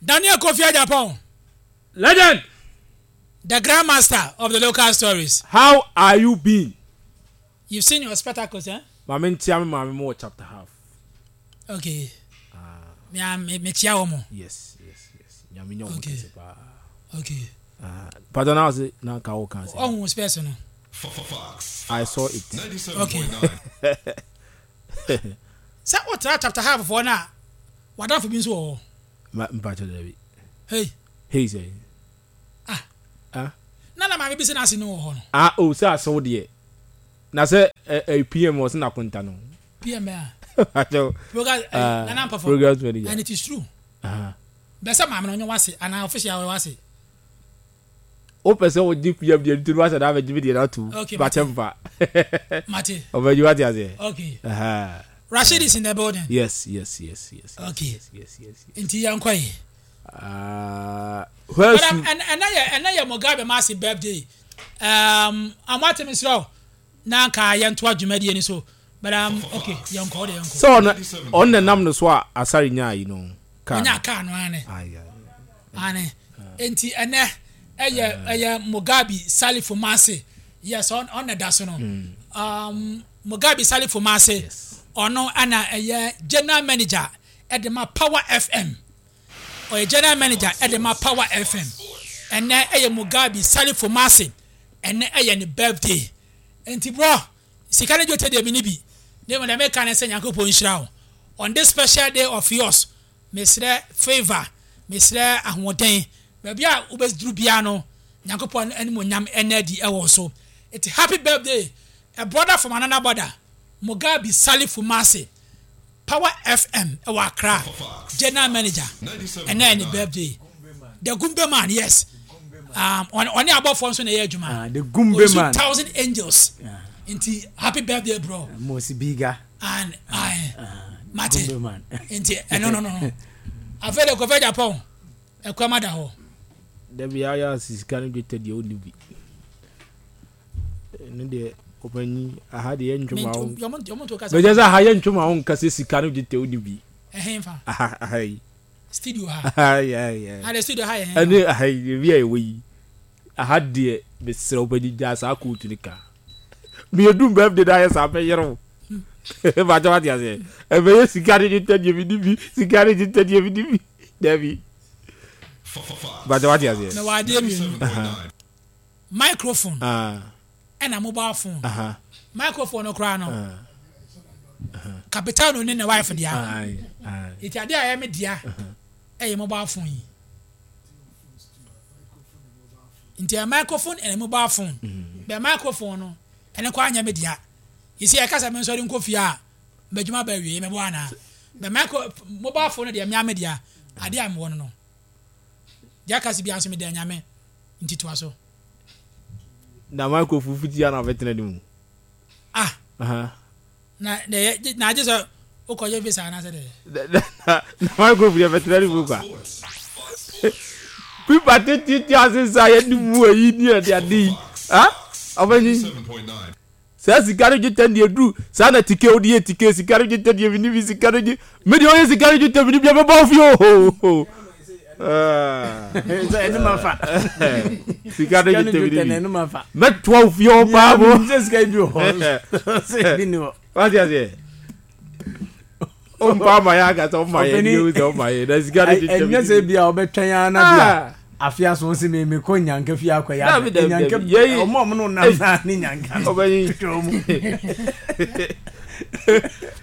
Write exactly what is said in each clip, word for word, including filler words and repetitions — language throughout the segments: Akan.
Daniel Kofi Agyapong. Legend. The grandmaster of the local stories. How are you been? You've seen your spectacles, eh? Maame, ntia me maame mo wɔ chapter half. Okay. Me a me me chia wo mo. Yes, yes, yes. Nyame nya ɔmo Okay. kɛse paa. Okay. Ah, pardon, na ɔse na nka wo kan sɛ. Oh, space no. I saw it. Okay. Sɛ wotra chapter half foɔ no a, wadamfo bi nso wɔ hɔ. Ma mpakyɛ dɛbi. Hey. Hey sɛ. Ah. Ah. Na na maame bi sɛ n'ase no wɔ hɔ no. Ah, oh, sɛ asew deɛ. Na sɛ ɛ ɛ P M wɔ sɛ n'akonta no. P M a. Mpakyɛ. Program Ah, Nana Mpafo. Programs manager. And it is true. Ah. Bɛ sɛ maame no ɔnyɛ wase anaa official ɔyɛ wase. Wopɛ sɛ wogye P M deɛ nti no wahyɛ da abɛgye me deɛ no atom. Okay, Mpakyɛ mfa. Mate. Ɔbɛgye wate aseɛ. Okay. Aha. Rashid is in the building. Yes, yes, yes, yes. Okay. Yes, yes, yes. yes. Nti yɛn kɔ yi. Ah, But where's um, and and yɛ ɛnɛ yɛ Mugabe Masi birthday. Um, amoate mi srɛ na nka yɛn to adwumadie ni so. But um, okay, yɛn kɔ de yɛn kɔ. Sɛ ɔno ɔno na nam no so a asare nyaa yi no kaa no. Ɔnya kaa no ane. Aye, aye. Ane. Nti ɛnɛ ɛyɛ ɛyɛ Mugabe Salifu Masi. Yes, ɔn ɔn da so no. Um, Mugabe Salifu Masi. Yes. Ɔno ɛna ɛyɛ general manager ɛde ma Power F M. Ɔyɛ general manager ɛde ma Power F M. Ɛnɛ ɛyɛ Mugabe Salifu Masi. Ɛnɛ ɛyɛ ne birthday. Nti bro, sika ne dwetɛ deɛ mi ni bi. Ne mu deɛ meka ne sɛ Nyankopɔn nhyira wo. On this special day of yours, mesrɛ favour, mesrɛ ahoɔden. Baabi a wobɛduru biara no, Nyankopɔn animonyam ɛna adi ɛwɔ so. Eti happy birthday, a brother from another border, Mugabe Salifu Masi, Power F M ɛwɔ Accra, general manager. Ɛnɛ yɛ ne birthday. The Gumbe man, yes. Um, ɔne ɔne abɔfoɔ nso na ɛyɛ adwuma. Ah, the Gumbe Ɔyɛ man. Thousand angels. Nti happy birthday, bro. Mosi Biga. And I mate. Gumbe man. Nti ɛno no no no. Afei de Kofi Japan ɛkwan da hɔ. Dabi, ayɛ ase sika no dwetɛ deɛ wonni bi. Ɛno deɛ ɔpanyin aha deɛ yɛntwe ma wo. Yɔmo yɔmo to kasa. Bɛgye sɛ aha yɛntwe ma wo nka sɛ sika no dwetɛ wonni bi. Ɛhɛn fa? Aha aha yi. Studio ha? Aha yi aha yi. Ha de, studio ha yɛ hɛn? Ɛne aha yi ebi a ɛwɔ yi. Aha deɛ mesrɛ wo panyin, gyaa saa kootu no ka. Mmienu birthday na ayɛ saa bɛyere wo. Bàtɛ wate aseɛ. Ɛbɛyɛ sika no dwetɛ deɛ mi ni bi, sika no dwetɛ deɛ mi ni bi. Dabi. Bàtɛ wate aseɛ. Na wɔ adeɛ mmienu. Microphone Ah, ɛna mobile phone. aha. Microphone no koraa no, Ah, Capitano ne ne wife dea. Aye, aye. Nti adeɛ a ɛyɛ me dea ɛyɛ mobile phone yi. Nti ɛyɛ microphone ɛna mobile phone. Bɛ microphone no ɛne kɔ anyɛ me dea. Yɛsi ɛka sɛ me nsɔre nkɔ fie a mbɛdwuma ba awie mɛbɔ anaa. Bɛ micro mobile phone no deɛ mea me dea. Adeɛ a mewɔ no no. Deɛ aka si biara nso meda Nyame, nti toa so. Na microphone futi a na ɔbɛtena ne mu. Ah. Aha. Na na yɛ na agye sɛ wokɔyɛ visa anaasɛ dɛ. Na na na microphone yɛ bɛtena ne mu kwa. Pipa tete ase sa yɛ ne mu ayi ne yɛ de ade yi. Ah? Ɔbɛnyi. Saa sika no dwetɛ deɛ duru saa na tike wode yɛ tike sika no dwetɛ deɛ mini bi sika no gye me deɛ ɔyɛ sika no dwetɛ mini bi a bɛbɔ wo fie o. Ah. Sɛ ɛno ma fa. Sika no Sika no dwetɛ mini dwetɛ na bi ɛno ma fa. mɛtoa wo fie hɔ paa bo. Sɛ sika bi wɔ hɔ. Sɛ bi ni hɔ. Wate aseɛ, ɔmpa ama yɛ akasa ɔma yɛ Ɔpanin- deɛ wo sɛ ɔma yɛ na sika no dwetɛ Ɛnyɛ mini sɛ bi. bi a ɔbɛtwɛn ara na bi a Ah. afe aso sɛ me mekɔ nyanka fie akɔyɛ Dabi, ade. dabi, Nyanka dabi. Yɛyi- ɔmo a ɔmo no nam saa ne nyanka no. Ɔbɛnyi. Hwɛ ɔmo.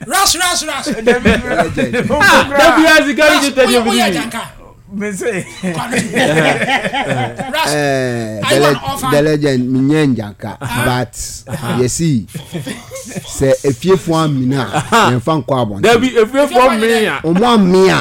Rush, rush, rush. Ah, dabi a sika no dwetɛ deɛ mini Woyɛ bi. janka. Me se. Rush. Eh, Are you the, an orphan? The legend, menyɛ nyanka, but yɛsi sɛ efiefoɔ amina a, yɛmfa nkɔ abɔnten. Dabi, efiefoɔ mmea. Ɔmo ame a,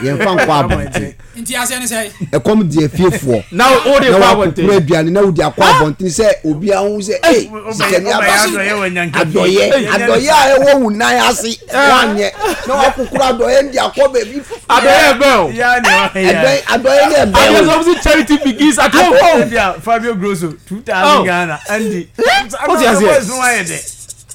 yɛmfa nkɔ abɔnten. Nti aseɛ ne sɛ? Ɛkɔm di efiefoɔ na o de na kɔ wakokoro abɔnten. Aduane na wodi akɔ abɔnten sɛ obi ahu sɛ ee sikani aba. Adɔyɛ wɔ nyanka fie. Adɔyɛ, adɔyɛ a ɛwɔ wo nan ase wanyɛ na wakokoro adɔyɛ de akɔ baabi foforɔ. Adɔyɛ bɛn o? Ya ne ɔyɛ. Ɛbɛn adɔyɛ ne ɛbɛn Adeɛ o. sɛ ɔmo si charity begins at home. Ebia Fabio Grosso two thousand Oh. Ghana Andy. Wote aseɛ? Boys no ayɛ dɛ.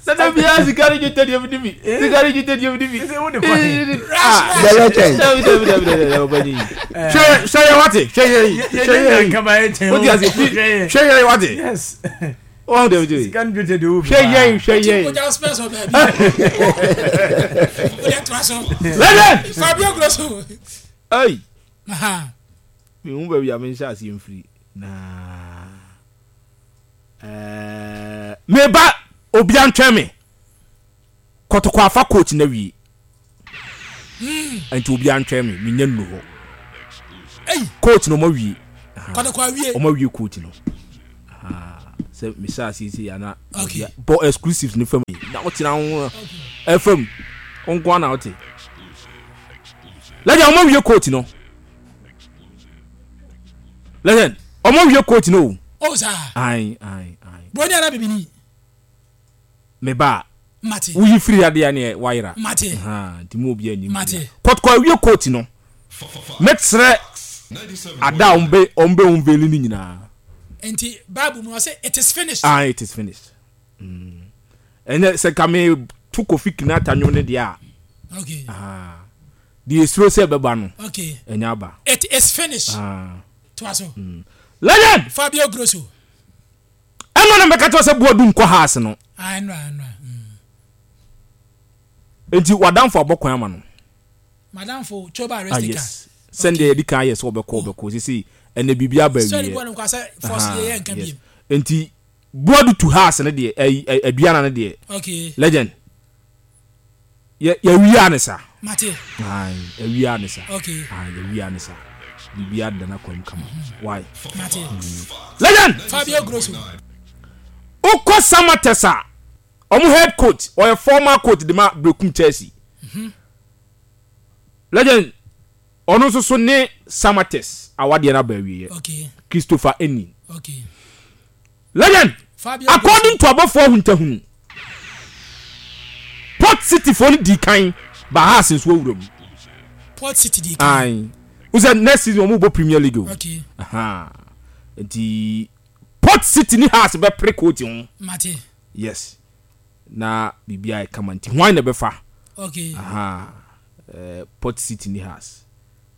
Sɛ biara sika ne dwetɛ deɛ mede bi, sika ne dwetɛ deɛ mede bi. Sɛ wode kɔ he? The legend. Dabi dabi dabi dabi dabi ɔbɛnyi. Hwɛ hwɛ yɛ wate, hwɛ yɛ yi, hwɛ yɛ yi. Wote ase fi hwɛ yɛ yi wate. Yes. Wɔn dabi dabi. Sika ne dwetɛ deɛ wo bi. Hwɛ yɛ yi, hwɛ yɛ yi. Ogya spɛs wɔ baabi. Wode toa so. Legend. Fabio Grosso. Ayi. Aha. Mehu baabi a menhyɛ aseɛ mfiri na ɛɛ meba obia ntwɛn me Kɔtɔkɔ afa coach na wie nti obia ntwɛn me menya nnu hɔ. Ei, Coach no ɔma wie. Kɔtɔkɔ awie. Ɔma wie coach no. Aha, sɛ mehyɛ aseɛ sei ana Okay. obia bɔ exclusives no fam yi na wotena ho ɛfam wo nko ana wote legend. Ɔma wie coach no, legend, ɔma wie coach no o. Oh saa. Ayi ayi ayi. Broni ana bibini? Me ba Mate. woyi firi adeɛ ne wayera. Mate. Ha, nti mu obi anim. Mate. Kɔtɔkɔ awie coach no, mɛkyerɛ ada a ɔmbɛ ɔmbɛ unveil ne nyinaa. Nti Bible mu ɔsɛ it is finished. Ah, it is finished. Mm. Ɛnyɛ sɛ ka me to Kofi Kinata nwom ne deɛ a. Okay. Ah, deɛ esuro sɛ ɛbɛba no. Okay. Ɛnyɛ aba. It is finished. Ah. Toa so. Legend. Fabio Grosso. Ɛno na mɛka kyerɛ sɛ Boadu nkɔ house no. Ah, ɛnura ɛnura. Mm. Nti wadamfo abɔ kwan ama no. Madamfo Choba Ah Arestica. yes, sɛndeɛ yɛdi kan yɛ sɛ ɔbɛkɔ ɔbɛkɔ sisi ɛnɛ biribi aba Sɔre awie. bɔ no nkwa sɛ force Aha, yɛ yɛ nka yes. biem. Nti Boadu to house no deɛ, ɛyi ɛ- aduana no deɛ. Okay. Legend, yɛ yɛwia ne sa. Mate. Ayi, yɛwia ne sa. Okay. Ayi, yɛwia ne sa, biribi ada na kwan mu kama why. Mate. Legend. Fabio Grosso. Wokɔ Samatex a ɔmo head coach, ɔyɛ former coach de ma Brekum Chelsea. Legend, ɔno nso so ne Samatex awadeɛ no aba awieɛ. Okay. Christopher Eni. Okay. Legend. Fabio Grosso. According to abɔfoɔ ahuntahunu, Port City foɔ no di kan ba Hearts nso awura mu. Port City di kan. Ayi, wosɛ next season wɔn bɔ Premier League o. Okay. Aha. Nti Port City ni Hearts bɛpere coach ho. Mate. Yes, na biribi ayɛ kama nti hwan na ɛbɛfa? Okay. Aha, eh, Port City ni Hearts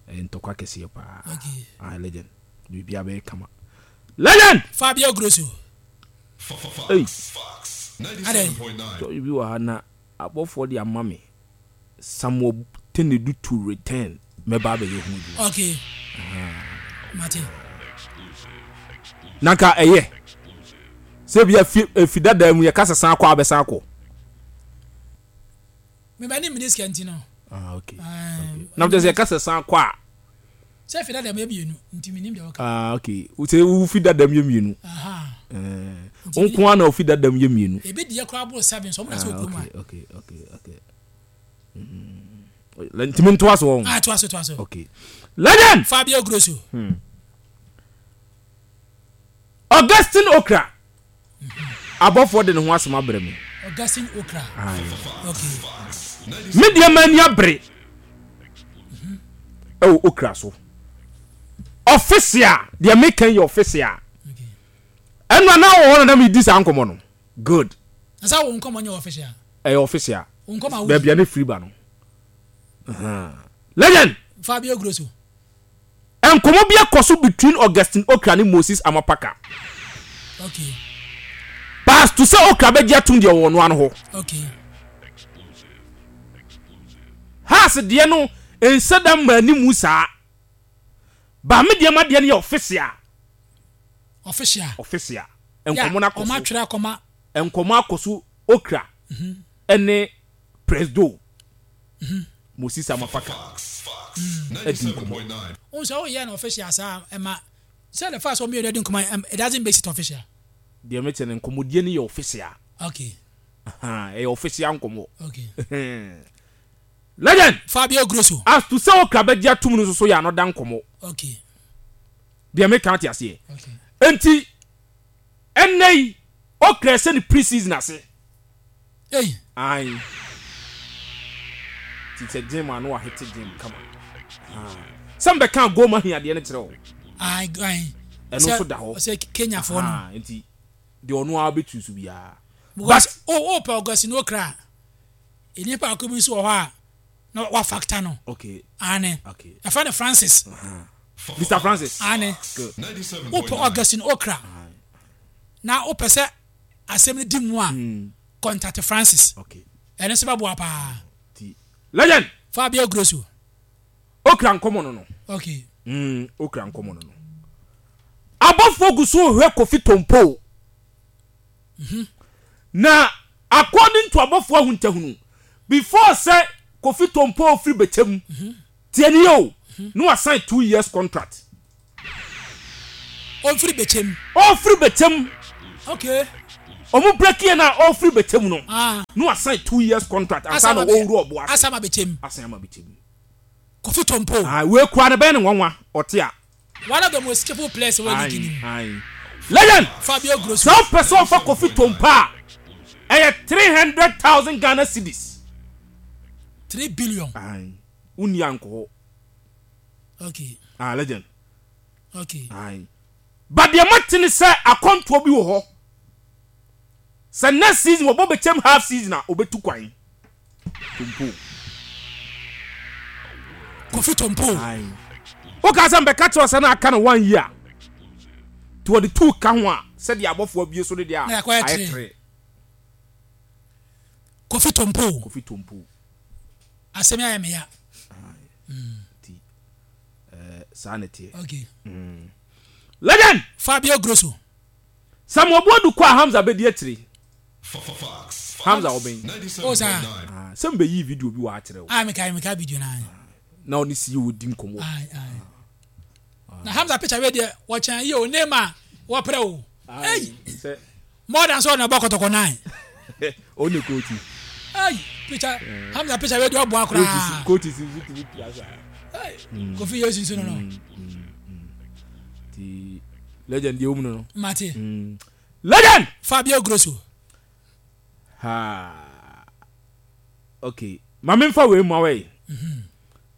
ɛyɛ ntɔkwa kɛseɛ paa. Okay. Ah, legend, biribi abɛyɛ kama, legend. Fabio Grosso. Ei. Adɛn? Story bi wɔ ha na abɔfoɔ de ama me, Samuel Tenedu to return, mɛba abɛyɛ ho adwuma. Okay. Mate. Na nka ɛyɛ sɛ bi afi efi dada mu yɛka sɛ san kɔ abɛsan kɔ. Meba ne mini sika nti no. Ah, okay. Um, na kyerɛ sɛ yɛka sɛ san kɔ a. Sɛ fi dada mu yɛ mmienu nti menim deɛ wɔka. Ah, okay, sɛ wofi dada mu yɛ mmienu. Aha. Ɛɛ Nti nko ara na ofi dada mu yɛ mmienu. Ebi deɛ koraa boro seven so ɔmo na sɛ Ah, okurom a. okay okay okay okay Mm. ntumi ntoa so wɔn. Ah, toa so, toa so. Okay, legend. Fabio Grosso. Augustine Okra, abɔfoɔ de ne ho asɛm abrɛ me. Augustine Okra. Okay. Me deɛ ma ani abere ɛwɔ Okra so official deɛ meka yɛ official. Okay. Ɛnu ana wɔ hɔ na na mi di saa nkɔmɔ no good. Na sɛ wo nkɔmmɔ nyɛ official? Ɛyɛ official. Wo nkɔmmɔ a wodi. Baabi a ne firi ba no. Ahan. Legend. Fabio Grosso. Nkɔmɔ bi akɔ so between Augustine Okra ne Moses Amapaka. Okay. Pass to sɛ Okra bɛgye atum deɛ ɔwɔ no ano hɔ. Okay. Hearts deɛ no nhyɛ da mma animu saa ba, me deɛ ma deɛ no yɛ official. Official. Official nkɔmɔ no akɔ Ɔmo so. atwerɛ akɔma. Nkɔmɔ akɔ so, Okra ɛne Presdo Moses Amapaka ɛdi nkɔmɔ. Wo sɛ woyɛ no official saa ɛma sɛ the first one mmienu adi nkɔmmɔ ɛm, it doesn't make it official. Deɛ mekyɛ no, nkɔmɔdie no yɛ official. Okay. Ahan, ɛyɛ official nkɔmɔ. Okay. Legend. Fabio Grosso. As to sɛ Okra bɛgye atum no nso so yɛ another nkɔmɔ. Okay. Deɛ meka te aseɛ. Okay. Nti ɛnɛ yi Okra sɛ ne pre-season ase. Ei. Ayi, ti sɛ gym ano ahete gym kama. Ah. Sɛ mbɛka goma hiadeɛ no kyerɛ wo. Ai ai. Ɛno nso da hɔ. Sɛ Kenyafoɔ no. Ah, nti deɛ ɔno ara bɛtu so biara. Because o o pɛ Augustine Okra a, nipa baako bi nso wɔ hɔ a na wa factor no. Okay. Ane. Okay. Ɛfɛ no Francis. Mister Francis. Ane. Good. O pɛ Augustine Okra na o pɛ sɛ asɛm no di mu a, contact Francis. Okay. Ɛno nso bɛboa paa. Ti legend. Fabio Grosso. Okra nkɔmɔ no no. Okay. Mm, okra nkɔmɔ no no. Abɔfoɔ gu so hwɛ Kofi Tompo. Na according to abɔfoɔ ahuntahunu, before sɛ Kofi Tompo firi Bɛkyɛm, tie ni o, na wasign two years contract. Ɔmfiri Bɛkyɛm. Ɔfiri Bɛkyɛm. Okay. Ɔmo break yɛ na ɔfiri Bɛkyɛm no. Ah. Na wasign two years contract ansa na ɔwuru ɔbo ase. Asama Bɛkyɛm. Asan ama Bɛkyɛm. Kofi Tompo. Ah, wei kura ne bɛyɛ ne nwanwa ɔte a. One of the most skillful players wɔ league ni mu. Aye. Legend. Fabio Grosso. Sɛ wopɛ sɛ ɔfa Kofi Tompo a, ɛyɛ three hundred thousand Ghana cedis. Three billion. Aye. Wonni ankɔ hɔ. Okay. Ah, legend. Okay. Aye. But deɛ mate ne sɛ akɔntoɔ bi wɔ hɔ. Sɛ next season wɔbɔ Bɛkyɛm half season a, obɛtu kwan. Tompo. Kofi Tompo. Aye. Woka sɛ mbɛka kyerɛ sɛ na aka no one year. Nti wɔde two ka ho a, sɛdeɛ abɔfoɔ abie so no deɛ a, Na yɛakɔyɛ ayɛ three. three. Kofi Tompo. Kofi Tompo. Asɛm yi ayɛ me ya. Nti ɛɛ saa na ɛteɛ. Okay. Legend. Fabio Grosso. Samuel Boadu kɔ a Hamza bɛdi akyire. Hamza ɔbɛn. O saa. Ah, sɛ mbɛyi video bi wɔ akyerɛ wo. Ah, meka meka video na. Na ɔne C E O di nkɔmmɔ. Aye, aye. Na Hamza picture wei deɛ wɔkyɛn yi o, name wɔprɛ o. Hey, Sɛ more than so na bɔ Kɔtɔkɔ nine. Ɔne coach. Hey, picture Hamza picture wei deɛ ɔboa koraa. Coach nso tumi pia saa. Hey, Kofi Yesu nso no no. Nti legend deɛ wɔm no no. Mate. Legend. Fabio Grosso. Ha. Okay. Maame nfa wei mu awɛ yi.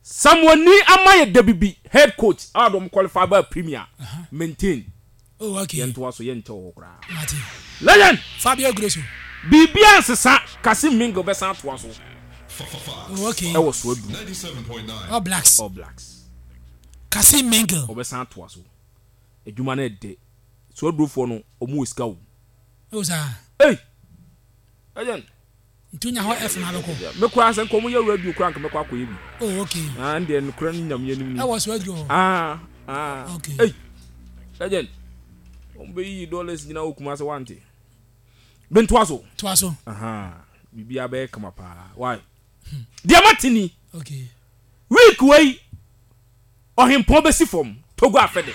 Samuel ni ama yɛ Dabibi head coach a wɔde qualify by Premier maintain. Oh, okay. Yɛn to so yɛn nkyɛn wɔ hɔ koraa. Mate. Legend. Fabio Grosso. Biribiara nsesa, Kasim Mingle bɛsan atoa so. Oh, okay. Ɛwɔ so adu. All Blacks. All Blacks. Kasim Mingle. Ɔbɛsan atoa so. Adwuma no ɛdɛ. So adurofoɔ no ɔmo wɔ sika o. O saa. Ei! Legend. Nti wonya hɔ F na abɛkɔ. Me koraa sɛ nka ɔmo yɛ radio koraa nka mɛkɔ akɔyɛ bi. Oh, okay. Ah, ndeɛ nokora no Nyame anim ni. Ɛwɔ so aduro hɔ. Ah, ah. Okay. Ei! Legend. Ɔmo bɛyiyi dollars nyinaa wɔ Kumase wante. Bentoa so. Toa so. Aha. Biribiara bɛyɛ kama paa. Why? Deɛ mate ni. Okay. Week wei ɔhempɔn bɛsi fam Togo afɛde.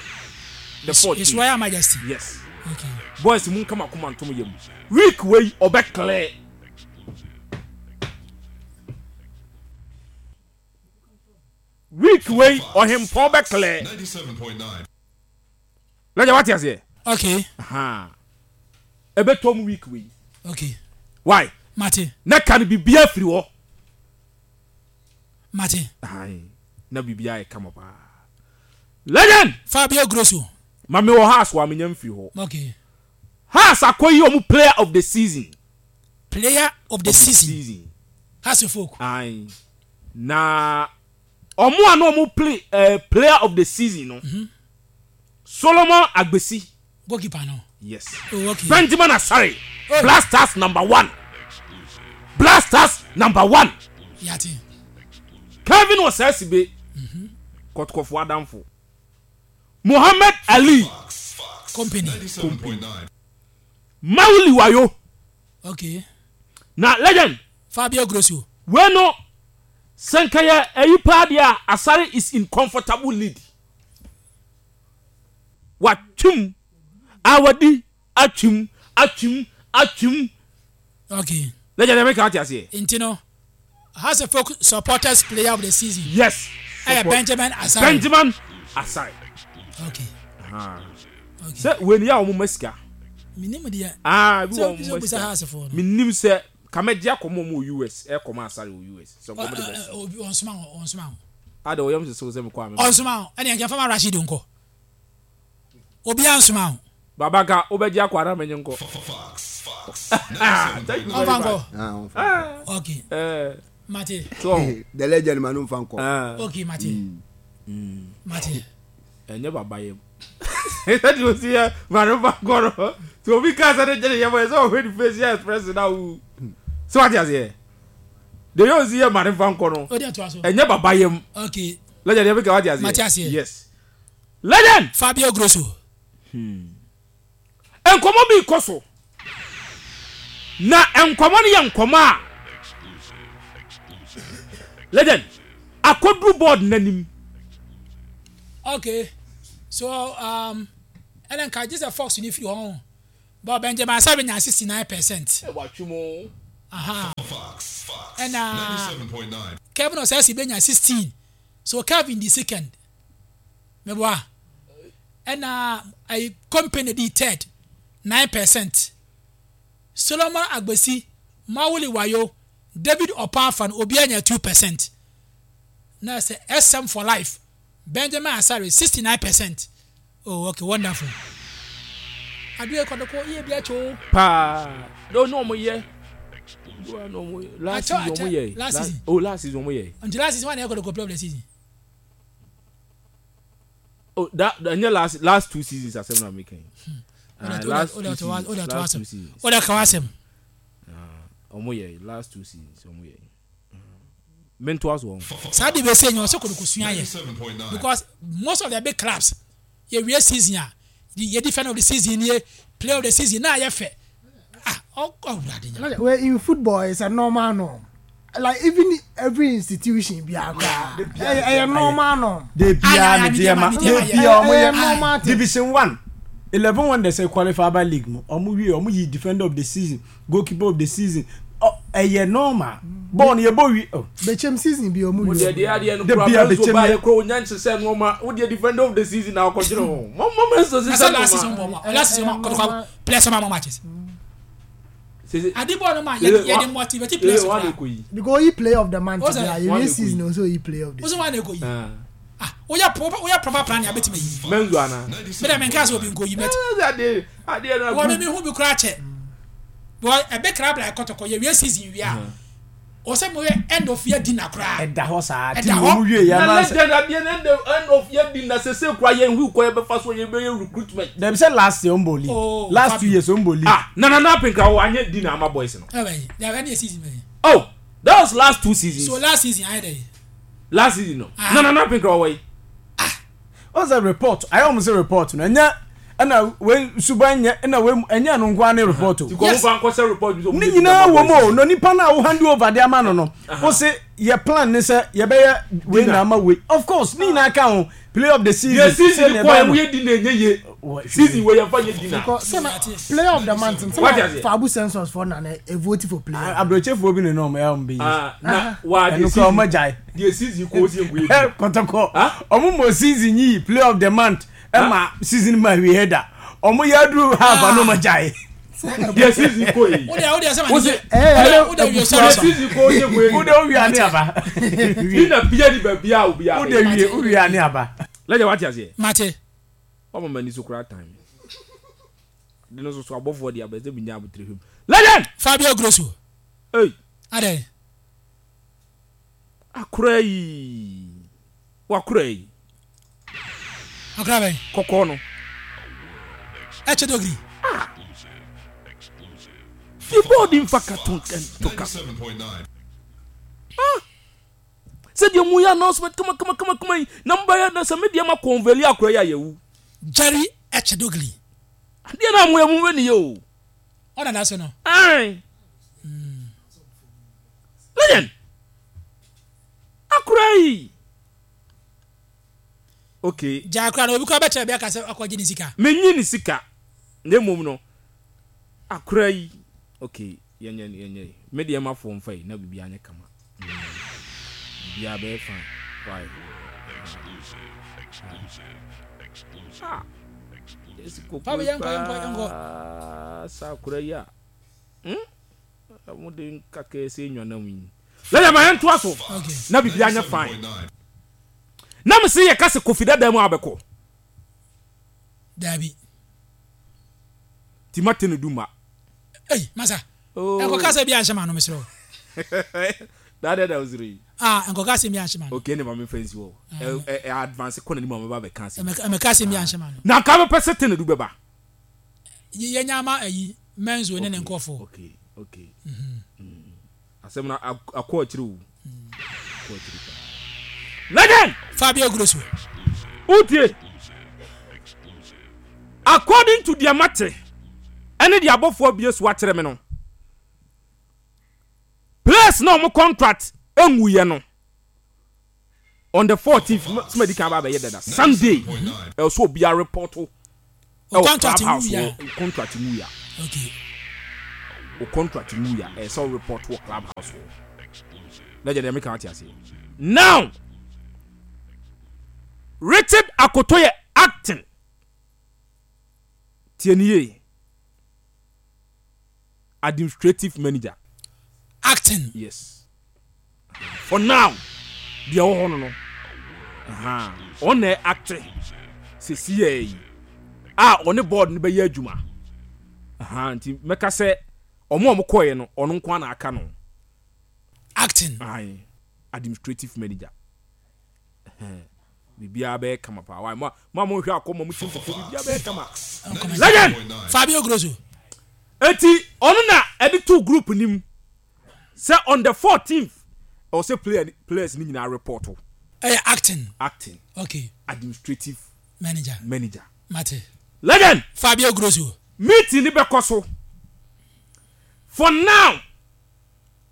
The His, fourteen. His Royal Majesty. Yes. Okay. Boys mu nkama koma ntom yɛ mu. Week wei ɔbɛ clear. Week wei ɔhempɔn bɛ clear. Lẹ́yìn wá ti aseɛ. Okay. Aha. Ɛbɛ tɔ mu week wei. Okay. Why? Mate. Na ka no biribiara firi hɔ. Mate. Ayi. Na biribiara yɛ kama paa. Legend. Fabio Grosso. Maame wɔ Hearts wɔ amenya mfiri hɔ. Okay. Hearts akɔyi ɔmo player of the season. Player of the Of the season. season. Hearts of Oak. Ayi. Na ɔmo a na ɔmo play uh, player of the season no. Solomon Agbesi. Goalkeeper no. Yes. Oh, okay. Benjamin Asare. Oh. Black Stars number one. Black Stars number one. Yate. Kevin Osasibe. Kɔtɔkɔfo adamfo. Mohammed Ali. Company. Mawuli Wayo. Okay. Na legend. Fabio Grosso. Wei no sɛ nka yɛ ɛyi paa deɛ a, Asare is in comfortable lead. Watwim awadi atwim atwim atwim. Okay. Legend, ɛmɛ kan te aseɛ. Nti no Hearts of Oak supporters player of the season. Yes. Ɛyɛ Support- Benjamin Asare. Benjamin Asare. Okay. Okay. Sɛ wei ni yɛ a wɔn ma sika. Minim deɛ. Aa, ebi Sɛ wɔ sɛ wɔn ma obisa sika. Hearts foɔ no. Minim sɛ kamɛgye akɔmɔ mu wɔ U S, ɛkɔmɔ Asare wɔ U S sɛ nkɔmɔ de bɛ Ɔ- ɔ- Obi ɔnsoma wo, ɔnsoma wo. Ade ɔyam sɛ sɛ mekɔ ame. Ɔnsoma wo. Ɛne yɛn fama Rashid nkɔ. Obiara nsoma wo. Baba nka wobɛgye akɔ ana menye nkɔ. Ah, thank you very Ɔmfa much. nkɔ. Ah, ɔmfa nkɔ. Okay. Eh, Mate. so The legend ma no nfa nkɔ. ah, Okay, mate. Mate. ɛnyɛ baba yam sɛdeɛ osi yɛ ma no fa nkɔ no tí obi kaa sɛ ne gyene yɛ bɔ yɛ sɛ ɔhwɛ ne face yɛ express na wu sɛ wate aseɛ de yɛ osi yɛ ma ne fa nkɔ no O de to aso. ɛnyɛ baba yam. Okay. Legend, yɛ bi ka wate aseɛ. Mate aseɛ. Yes, legend. Fabio Grosso. Nkɔmɔ bi kɔ so na nkɔmɔ no yɛ nkɔmɔ a, legend, akɔduru board n'anim. Okay. So um ɛnna nka gye sɛ Fox ni firi hɔ. But Benjamin Asare nya sixty nine percent. Watwi mu. Aha. Ɛna Kevin Osesi benya sixteen. So Kevin di second. Meboa. Ɛna ayi company di third nine percent. Solomon Agbesi, Mawuli Wayo, David Opafan obiara nya two percent. Na sɛ S M for life Benjamin Asare sixty nine percent. Oh, okay, wonderful. Adeɛ kɔdɔkɔ yie bi akyɛ o. Paa no no ɔmo yɛ no ɔmo yɛ last Akyɛ- season ɔmo akyɛ- yɛ. Last season. Oh, last season ɔmo yɛ. Nti last season wɔn na yɛ kɔdɔkɔ player of the season. Oh, that ɛnyɛ last last two seasons asɛm na mi kɛn. O de Last o two de seasons, o de to last asɛm. two seasons. O de ka asɛm. Ɔmo yɛ last two seasons ɔmo yɛ mentoa so wɔn. Saa de bɛ se nyɛ ɔsɛ kɔdɔkɔ sua yɛ because most of the big clubs yɛ wie season a yɛ defender of the season yɛ player of the season naa yɛ fɛ, ah, ɔ ɔwurade nya. Like, well, in football it's a normal norm, like even every institution bi akora ɛyɛ ɛyɛ normal norm. De bia Aye, aye, me deɛ ma me de deɛ ma, bia ɔmo ɛyɛ yɛ normal thing. Division one, Eleven Wonders ɛ qualify aba league mu, ɔmo wie, ɔmo yi defender of the season, goalkeeper of the season. Ɔ ɛyɛ normal bɔɔl no yɛ bɔ wi oh. Bɛkyɛm season bi ɔmo Mo wie. deɛ deɛ adeɛ no De kura bia mɛnso bɛkyɛm ba yɛ. yɛ kura onya nhyehyɛ nneɛma wo deɛ defender of the season na ɔkɔgyere ho mo mo mɛnso Na hyehyɛ sɛ last season nneɛma. bɔ ma last season ma kɔdɔkɔ players ma ma matches. Sese Adi bɔɔl no ma yɛ yɛ de motivate players sese wa de kora. ko yi. Because oyi player of the month What's bi that? a yɛ One wie dey season o so oyi player of the O sɛ season. wɔn na eko yi. Ah. Ah, woyɛ pro woyɛ proper plan yɛ abɛtumi yi. Mɛnso ana. Mi dɛ mi nka sɛ obi nko yi mɛt. Ɛɛ adeɛ adeɛ no Wɔn mi mi hu bi kora kyɛ. Wɔ ɛbɛ kra bla kɔtɔkɔ yɛ wie season wie a ɔsɛ mo yɛ end of year dinner koraa. Ɛda hɔ saa Ɛda ti hɔ. ɔmo wie yɛ Na anaa sɛ legend, adeɛ no end of end of year dinner sese kura yɛn hu kɔ yɛ bɛfa so yɛ bɛyɛ recruitment. Dɛbi sɛ last year ɔmo bɔ league. Oh, Last two Fabio. years ɔmo bɔ league. Ah, nana na apinkra wo anyɛ dinner ama boys no. Ɛbɛ yi ɛbɛ ni yɛ season bɛ yi. Oh, that was last two seasons. So last season ayɛ dɛ yi. Last season no. Ah. Nana na apinkra wɔ yi. Ɔn sɛ report ayɛ ɔmo sɛ report no ɛnyɛ ɛna wei suban nyɛ ɛna wei ɛnyɛ no nko ara ne report o. Ti kɔ mo fa nkɔsɛ report bi sɛ ɔmo Ne yɛ nyinaa dinner ama wɔ mu o boys. na nipa no a wo hand over de ama no no wo se yɛ plan ne sɛ yɛbɛyɛ wei Dinner. na ama wei, of course ne nyinaa ka ho, player of the season. Yɛ season sɛnea kɔ yɛ ɛbɛyɛ mo no. yɛ dinner enye ye. Wɔ- Season wei yɛn fa yɛ dinner. Because sɛ na player of the month What sɛ is na it? Fabu census for na na e vote for player. Aburokyefoɔ bi ne na ɔmo ɛyɛ ɔmo bɛ yi. Ah, na wa Ɛno deɛ kora season ɔmo gyae. Deɛ season kɔ o si nko yɛ dinner. Kɔtɔkɔ Ah? ɔmo mɔ season yi player of the month ɛma season ma wie da ɔmo yɛ aduru half ano ɔmo gyae. Deɛ season kɔ yi. O de o de sɛ ma O ni se- o de o de wie Deɛ sɔrɔ sɔrɔ. season kɔ o si nko yɛ Wo de dinner. owia ne aba. Dinner bia ni baabi a obi a. Wo de wie owia ne aba. Lẹ́yìn wá ti aseɛ. Mate. Wọ́n mọ̀ ní so kura time. De no so so abɔfoɔ de abɛsɛ bi nya abotire hwem. Legend. Fabio Grosso. Hey. Adɛ. Akora yi. Wakora yi. Akora bɛ. Kɔkɔɔ no. Ɛkyɛ dogiri. Fi bɔɔdi nfa ka to to ka. Ah! Sɛdeɛ mu yɛ announcement kama kama kama kama yi na mo bɛyɛ na sɛ mi deɛ ma kɔnvɛli akora yi a yɛwu. Jerry ɛkyɛ dogiri. Adeɛ na mo yɛ mo bɛ ni yɛ o. Ɔna da so no. Ayi. Legend. Akora yi. Okay. Gya akora no obi kora bɛkyerɛ bi aka sɛ akɔgye ne sika. Menyi ne sika na mmom no akora yi, okay, yɛnyɛ yɛnyɛ me deɛ ma fo mfa yi na biribi anyɛ kama. Mm. Biribiara bɛyɛ fine. Why, ah, esi koko. Fabi, yɛnkɔ, yɛnkɔ, yɛnkɔ. Paa sa akora yi a hmm mo de nkaka ese nwanam yi lɛyɛ ma yɛntoa so. Okay. Na biribi anyɛ fine na me se yɛ kase Kofi dada mu abɛkɔ. Dabi. Timate ne duma. Ei, masa. Oh. Nkɔka sɛ bi anhyɛ ma no, mesrɛ wo. That that was real. Ah, nkɔka sɛ bi anhyɛ ma no. Okay, ne ma me fɛn si wɔ. Ɛ ɛ advance kɔ n'anim a mɛba bɛka asɛm. Ɛmɛka sɛ bi anhyɛ ma no. Na nka bɛpɛ sɛ ten du bɛba. Yɛnya ama ayi Menzo ne ne nkɔfoɔ. Okay, okay. Mm. Asɛm na akɔ akyiri o. Akɔ akyiri paa. Legend! Fabio Grosso. Wotie. According to deɛ mate ɛne deɛ abɔfoɔ abie so akyerɛ me no, players na ɔmo contract enwuyɛ no on the fourteenth sɛ kan ba abɛyɛ dada Sunday, ɛwɔ so obiara report ɛwɔ contract club house nwuya. Wɔ contract nwuya. Okay. O contract nwuya, ɛyɛ sɛ o report wɔ club house wɔ. Lẹ́jẹ̀ deɛ meka wate ase. Now Richard Akoto yɛ acting, tie ni yie, administrative manager. Acting. Yes, for now deɛ ɛwɔ hɔ no no ɔna act sisi yɛ yi a ɔne board no bɛyɛ adwuma. Nti mɛka sɛ ɔmo a ɔmo kɔɛ no, ɔno nko ara na aka no. Acting. Ayi administrative manager, biribiara bɛyɛ kama paa. Wa mo a mo hwɛ akɔ mo mo ti mpopo, biribiara bɛyɛ kama. Legend. Fabio Grosso. Eti ɔno na ɛde to group nim sɛ on the fourteenth ɛwɔ sɛ player players ni nyinaa report o. Ɛyɛ acting. Acting. Okay. Administrative manager. Manager. Mate. Legend. Fabio Grosso. Meeting ni bɛkɔ so. For now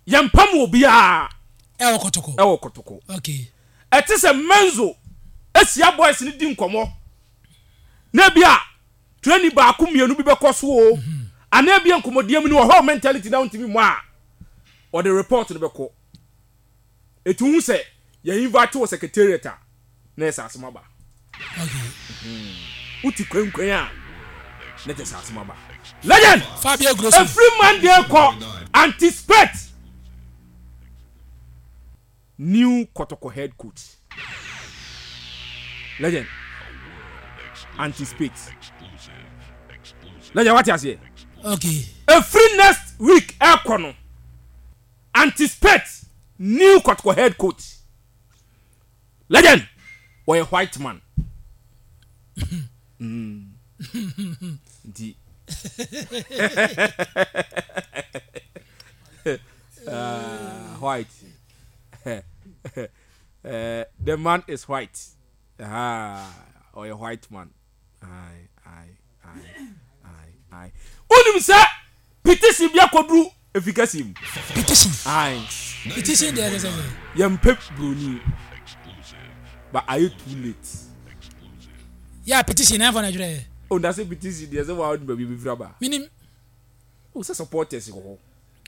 yɛn pam wɔ biara. Ɛwɔ Kɔtɔkɔ. Ɛwɔ Kɔtɔkɔ. Okay. Ɛte sɛ Menzo esia boys ni di nkɔmɔ na ebi a training baako mmienu bi bɛkɔ so o, anaa ebi nkɔmɔdeɛ mu ni wɔ hɔ, mentality na ntumi mu a ɔde report no bɛkɔ. Etu hu sɛ yɛn invite wɔ secretariat a na yɛ sɛ asɛm aba. Okay. Wote kwankwan a na kyɛ sɛ asɛm aba. Legend. Fabio Grosso. Efiri Monday kɔ, anticipate new Kɔtɔkɔ head coach. Legend, anticipate. Legend, wate aseɛ? Okay. Efiri next week ɛkɔ no, anticipate new Kɔtɔkɔ head coach. Legend, wɔyɛ white man. mm. nti uh, white, uh, the man is white. Ah, ɔyɛ white man. Aye, aye, aye, aye, aye. Wonim sɛ petition bi akɔduru efikasi mu. Petition. Aye. Petition deɛ, ɛsɛ sɛ. Yɛmpɛ broni but ayɛ too late. Yɛ petition na ɛfɔ na ɛdwerɛ yɛ. O na sɛ petition deɛ, sɛ waa ɔde baabi bi firi aba. Minim. O sɛ supporters wɔ hɔ.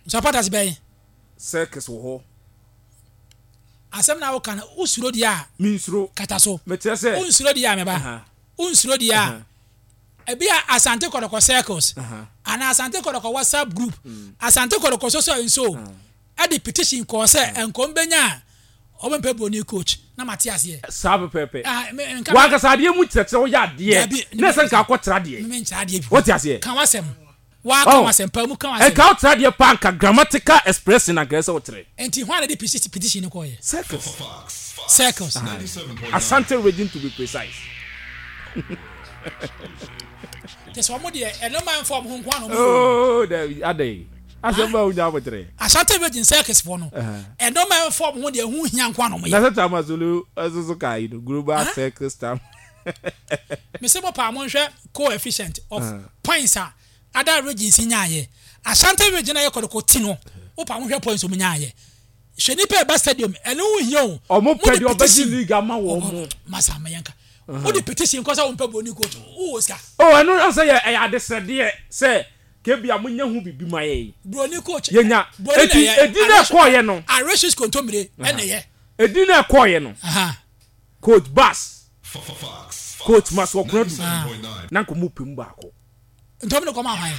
Supporters bɛyɛ. Circus wɔ hɔ. Asɛm na woka no, wosuro deɛ a. Mi nsuro. Kata so. Mɛkyerɛ sɛ. Wonsuro deɛ a, mɛba wonsuro deɛ a, ebi a Asante Kɔtɔkɔ circles anaa Asante Kɔtɔkɔ WhatsApp group, Asante Kɔtɔkɔ soso nso ɛde petition kɔɔ sɛ nkɔm bɛnya a ɔmo mpɛ broni coach na ma te aseɛ. Saa pɛpɛɛpɛ. Ah, me- nka- Wankasa adeɛ mu kyerɛkyerɛ, woyɛ adeɛ Dabi, na ɛsɛ nka akɔkyerɛ adeɛ. Me nkyerɛ adeɛ bi. Wote aseɛ? Ka wasɛm waa, ka Oh. wasɛm pa mu, ka wasɛm. Ɛnka wokyerɛ adeɛ pa, nka grammatical expression anka ɛsɛ wokyerɛ. Nti hwan na de petition petition no kɔɔyɛ? Circus. Circles. Asante Region to be precise. Kyɛ sɛ ɔmo deɛ, ɛno ma nfa ɔmo ho nko ano ɔmo yɛ o. Oh, dabi, adɛn, asɛm ba wonya abokyerɛ. Asante Region circles foɔ no, ɛno ma nfa ɔmo ho deɛ, ɛho hia nko ano ɔmo Na yɛ. sɛ Tamasolo ɛso so ka yi no global circus tam. Mese mo paa, mo nhwɛ coefficient of points a other regions nyaayɛ. Asante Region a yɛ Kɔtɔkɔ ti no, wo paa mo hwɛ points ɔmo nyaayɛ. Hwɛ nipa ɛba stadium, ɛno ho hia o. Ɔmo Mo pɛ de deɛ ɔbɛgye petition- league ama wɔn mo. Masa mɛyɛnka wo de petition kɔ sɛ wo mpɛ broni coach, wo wɔ sika. Oh, ɛno sɛ yɛ ɛyɛ adesrɛdeɛ sɛ kebi a monya ho bibi ma yɛ yi. Broni coach. Yɛnya. Broni na Eti ɛyɛ. edi na ɛkɔɔyɛ no. Aratius kontomire ɛna ɛyɛ. Edi na ɛkɔɔyɛ no. Aha. Coach Bass, Coach Masoɔkunadu na nka ɔmo pɛ mu baako. Ntɔm ne kɔma ahwan?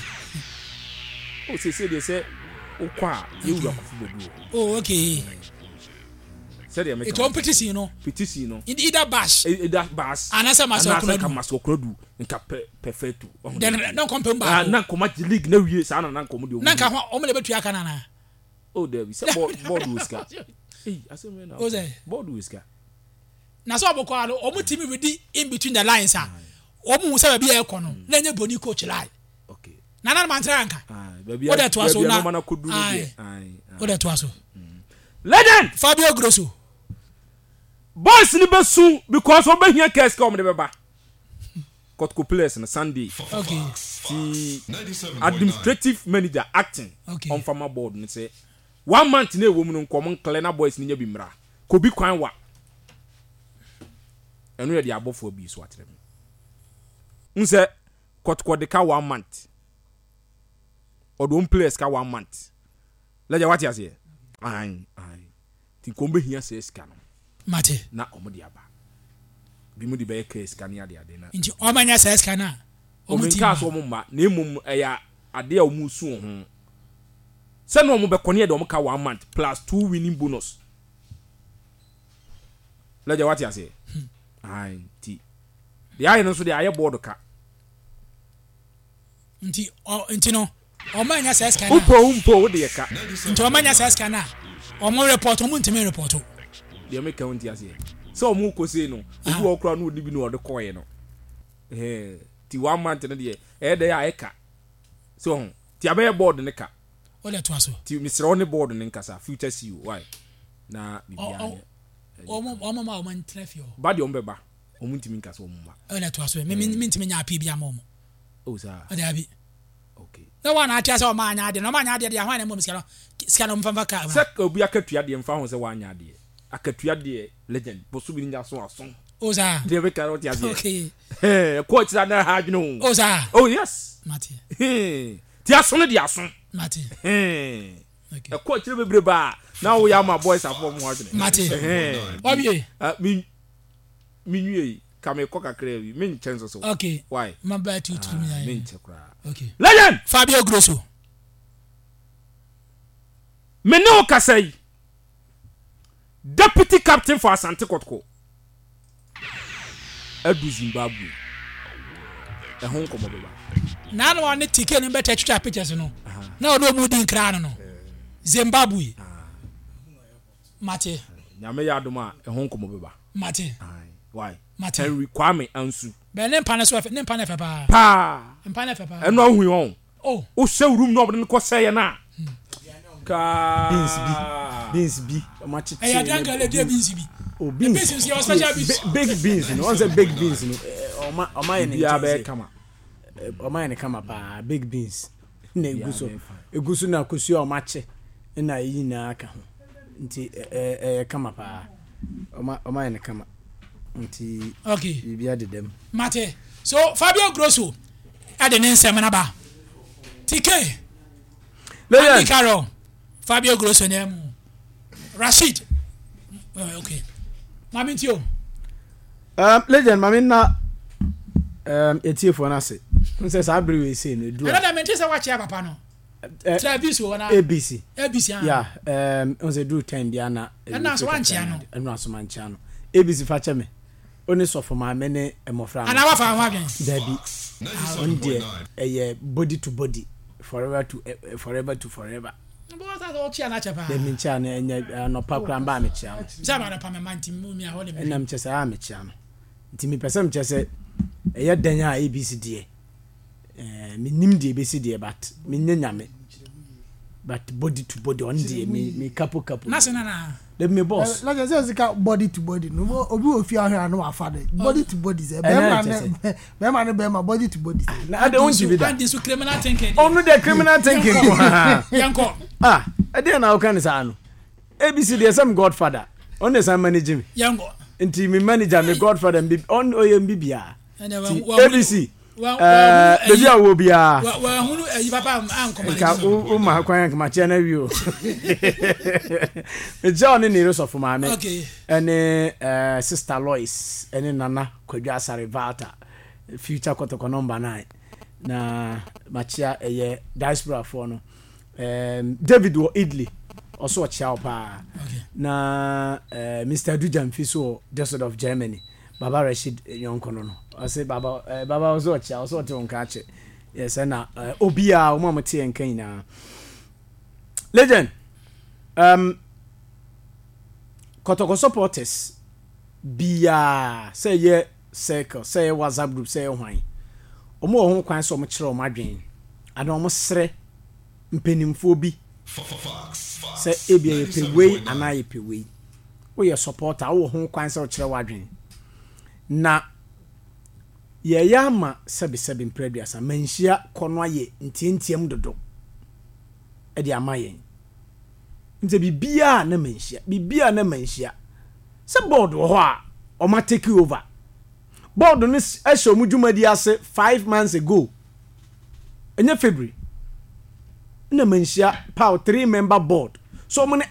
O sese deɛ, sɛ wokɔ a, yɛwura Kofi Badu wɔ hɔ. Oh, okay. Sɛdeɛ meka Ètò ɔn petition no. Petition no. Either bash. Either bash. Anaasɛ Maxwell Anaasɛ Konadu. Maxwell Konadu nka pɛ perfecto. Then na nkɔm pɛm baako. Na nkɔm agye league na wie saa na na nkɔm deɛ. Na nka ho ɔmo na ebetua aka nana. Oh dabi sɛ board board wɔ sika. Eyi asɛm yɛ na. O sɛ. Board wɔ sika. Na sɛ ɔmo kɔ ano ɔmo ti mi redi in between the lines a ɔmo hu sɛ baabi a ɛkɔ no na nye broni coach line. Okay. Nana ma n tẹ́lẹ̀ nka. Baabi O de to aso na. na o de to aso. Legend. Fabio Grosso. Boys ni bɛ sun because ɔbɛ hiɛ kɛse kɛ ɔmo de bɛ ba. Kotoko players na Sunday. Okay. Ti administrative manager acting. Okay. On farmer board ni sɛ one month na ewo mu no nkɔmɔ nkɛlɛ na boys ni nya bi mra. Kobi kwan wa. Ɛno yɛ de abɔfoɔ bi so akyerɛ me. N sɛ Kotoko de ka one month. Ɔde players ka one month. Lɛgya wate aseɛ. Ayi ayi. Ti nkɔmɔ bɛ hia sɛ sika no. Mate. Na ɔmo de aba. Bi mu de bɛyɛ kɛ sika ne ade ade na. Nti ɔmo anya sɛ sika na. Ɔmo nka so ɔmo mma na emom ɛyɛ ade a ɔmo su ho. Sɛ na ɔmo bɛkɔ ne yɛ de ɔmo ka one month plus two winning bonus. Lɛgya wate aseɛ. Ayi ti. Deɛ ayɛ no nso deɛ ayɛ board ka. Nti ɔ nti no ɔmo anya sɛ sika na. Upo umpo wo de yɛ ka. Nti ɔmo anya sɛ sika na ɔmo report ɔmo ntumi report. Deɛ meka wo nti aseɛ. Sɛ ɔmo kɔ sei no obi wɔ kora no odi bi na ɔde kɔɛ no. Eh ti one month no deɛ ɛyɛ dɛ ayɛ ka. So ho ti abɛyɛ board ne ka. O de to aso. Ti mesrɛ wo ne board ne nkasa future C E O why na bibia nyɛ. Ɔmo ɔmo ma ɔmo ntena fie hɔ. Ba deɛ ɔmo bɛba ɔmo ntumi nkasa ɔmo ma. O de to aso me me ntumi nya api bi ama ɔmo. Oh sir. O de abi. Okay. Na wa na atia sɛ ɔmo anya ade na ɔmo anya ade deɛ ahwan na mo sika no sika no mfa ka. Sɛ obi akatua deɛ mfa ho sɛ wa anya ade. Akatua deɛ legend boso bi nya so aso. O sir. Deɛ be ka o ti ase. Okay. Eh coach na ha adwene o. O sir. Oh yes. Mate. Ti aso no de aso. Mate. Eh. Okay. E coach bebre ba na wo ya ma boys afo mo adwene. Mate. Eh. Obi. Ah mi mi nwie ka me kɔ kakra bi me nkyɛn so so. Okay. Why? Ma ba tu tu mi Me nkyɛ kra. Okay. Legend Fabio Grosso. Me ne o kasa yi. Deputy captain for Asante Kotoko. Edu Zimbabwe. E ho nkomo beba. Na no one T K no better twitwa pictures no. Na o no mu din kra no no. Zimbabwe. Mate. Nyame ya adom a e ho nkomo beba. Mate. Why? Mate. Henry Kwame Ansu. Be ne mpa ne so ne mpa ne fe pa. Pa. Mpa ne fe pa. Eno ahu yon. Oh. O se room no obde ne ko sey na. Ka beans bi. Beans bi. O ma chichi. Eh ya danka le de beans bi. Oh beans. Beans is special beans. Big beans no. One say big beans no. O ma o ma ye ne. Bia be kama. O ma ye ne kama pa big beans. Na eguso. Eguso na kosuo o ma che. Na yi na aka ho. Nti eh eh kama pa. O ma o ma ye ne kama. Nti okay. Bibia de dem. Mate. So Fabio Grosso ade ne nsem na ba. T K. Legend. Carol. Fabio Grosso ne mu. Rashid. Okay. Mami ntio. Um legend mami na um etie for na se. Nse sa abri we say no do. Ana da mente se wa chia papa no. Travis wo na A B C. A B C. Yeah, um nse do time bia na. Na so wan chia no. Enu aso man chia no. A B C fa che me. Oni sofo ma me ne emofra. Ana wa fa ho adwen. Dabi. On there eh body to body forever to uh, forever to forever. Bo sa so chia na che pa. Dem nchia na enya anopa kra mba me chia no. Sa ba na pa me manti mu mi a ho de me. Enam che sa me chia no. Nti mi pesem che se eye dan a A B C de. Eh me nim de A B C de but me nya me. But body to body on there me me kapo kapo. Na se na na. Dem me boss. Like I say body to body no obi ofi ahwe na wa fa de. Body to body ze. Be ma ne be ma ne be ma body to body. Na ade won ti bi da. And this criminal thinking. Oh no the criminal thinking. Yanko. Ah, e na o kan sa no. A B C de some godfather. On the some manage me. Yanko. Nti mi manager mi godfather mbi on oye mbi bia. A B C. Eh baby a wo bia. Wa hunu eyi papa anko manage. Ka o ma kwan ma che na wi o. Me John ni reso for maame. Okay. Ene eh sister Lois, ene Nana Kwadwo Asare Valta. Future Kotoko number nine. Na machia eye diaspora for no. Um David wo Italy. Ɔso ɔkyea wo paa. Okay. Na uh, Mister Adu Jamfi so wɔ Düsseldorf, Germany. Baba Rashid yɔnko no no ɔse Baba uh, Baba ɔso ɔkyea, ɔso ɔte wo nka akyɛ. Yes, ɛna uh, obiaa ɔmo a mote yɛn nka nyinaa. Legend, um, Kɔtɔkɔ supporters biaa, sɛ ɛyɛ circle, sɛ ɛyɛ WhatsApp group, sɛ ɛyɛ hwan, ɔmo wɔ ho kwan sɛ ɔmo kyerɛ ɔmo adwene ana ɔmo srɛ mpanimfoɔ bi sɛ ebia yɛpɛ wei anaa yɛpɛ wei. Woyɛ supporter, wowɔ ho kwan sɛ wokyerɛ w'adwene na yɛyɛ ama sɛbesɛbe mprɛ aduasa manhyia kɔ no ayɛ ntiantiam dodo ɛde ama yɛn nti biribiaa na manhyia, biribiaa na manhyia sɛ board wɔ hɔ a ɔma take over. Board no s- ɛhyɛ ɔmo dwumadi ase five months ago, ɛnyɛ February na manhyia power three member board so ɔmo ne